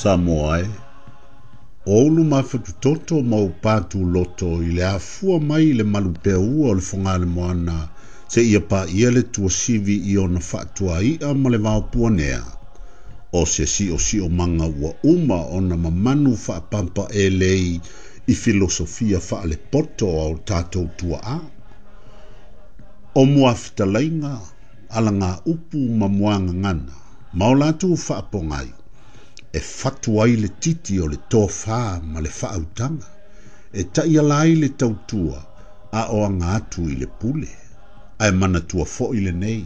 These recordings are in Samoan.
Samoa e, o ou luma fatutoto ma ou pātūloto i le afua mai i le malupeaua o le Fogaalemoana seia paia le tuasivi i ona faatuai'a ma le vaopuanea, o se siosiomaga ua uma ona mamanu faapampaelei i filosofia faalepoto a o tatou tuaa. O muafetalaiga, alagaupu ma muagagana, ma o latou faapogai, e fatu ai le titi o le tofā ma le faautaga, e taiala ai le tautua a o aga atu i le pule. Ae manatua foi lenei,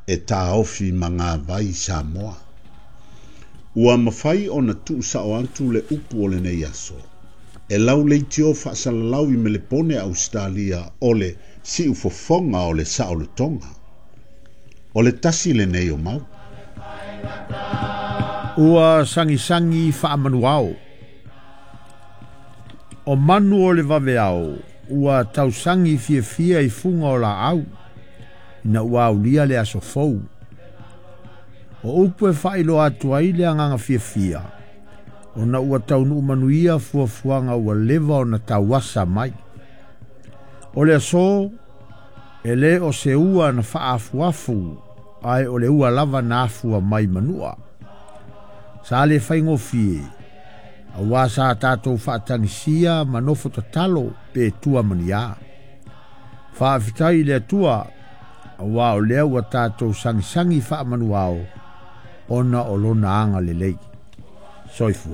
e taofi magavai Samoa. Ua mafai ona tuusao atu le upu o lenei aso, e lau leitio faasalalau i Melepone Ausetalia o le siufofoga o le saolotoga. O le tasi lenei o mau. Ua sagisagi faamanuao. O manu o le vaveao, ua tausagi fiafia i fuga o laau, ina ua aulia le aso fou. O upu e faailoa atu ai le agaga fiafia, ona ua taunuu manuia fuafuaga ua leva ona tauasa mai. O le aso, e lē o se ua na faaafuafu, ae o le ua lava na afua mai manua. Sa le faigofie, auā sa tatou faatagisia ma nofo tatalo pe tua ma ni a. Faafetai i le Atua, auā o lea ua tatou sagisagi faamanuao ona o lona agalelei. Soifua.